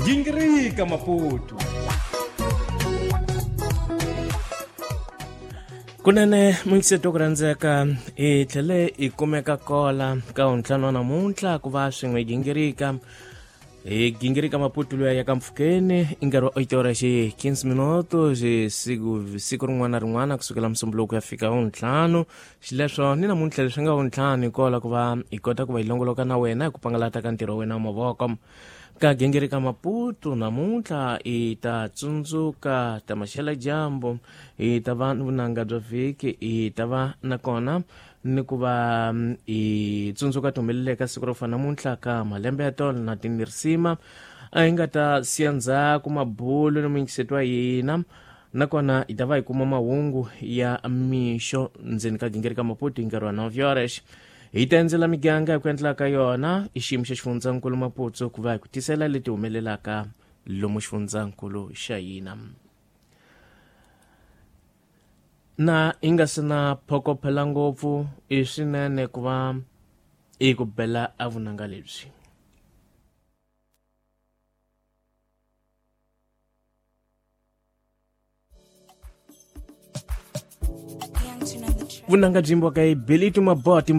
Gingirika Maputo. Kunene muyingiseti ku rhandzeka, hi tlhele hi kumeka kola ka wuntlhanu wa namuntlha ku va swin'we hi gingirika, hi gingirika Maputo luya ya ka mpfhukeni i nkarhi wa 8 ora xi 15 minuto xi siku siku rin'wana na rin'wana kusukela Musumbuloku ya fika wuntlhanu. Xileswo ni namuntlha leswi nga wuntlhanu hi kola ku va hi kota ku va hi longoloka na wena hi ku pangalata ka ntirho wa wena wa mavoko. Ka gingirika Maputo namuntlha hi ta tsundzuka ta maxela dyambu, hi ta va ni vunanga bya vhiki, hi ta va nakona ni ku va hi tsundzuka ti humeleleka siku ro fana namuntlha ka malembe ya tolo na tinirisima a hi nga ta siya ndzhaku mabulo ni muyingiseti wa hina, nakona hi ta va hi kuma mahungu ya mixo ndzeni ka gingirika Maputo hi nkarhi wa 9 horas. Hi ta endzela miganga hi ku endla ka yona i xiyimo xa xifundzankulu Maputo ku va hi ku tisela leti humelelaka lomu xifundzankulu xa hina. Na hi nga se na phokophela ngopfu, i swinene ku va i ku bela a vunanga lebyi. Vunanga byi yimbiwaka hi Billy Tumaboti.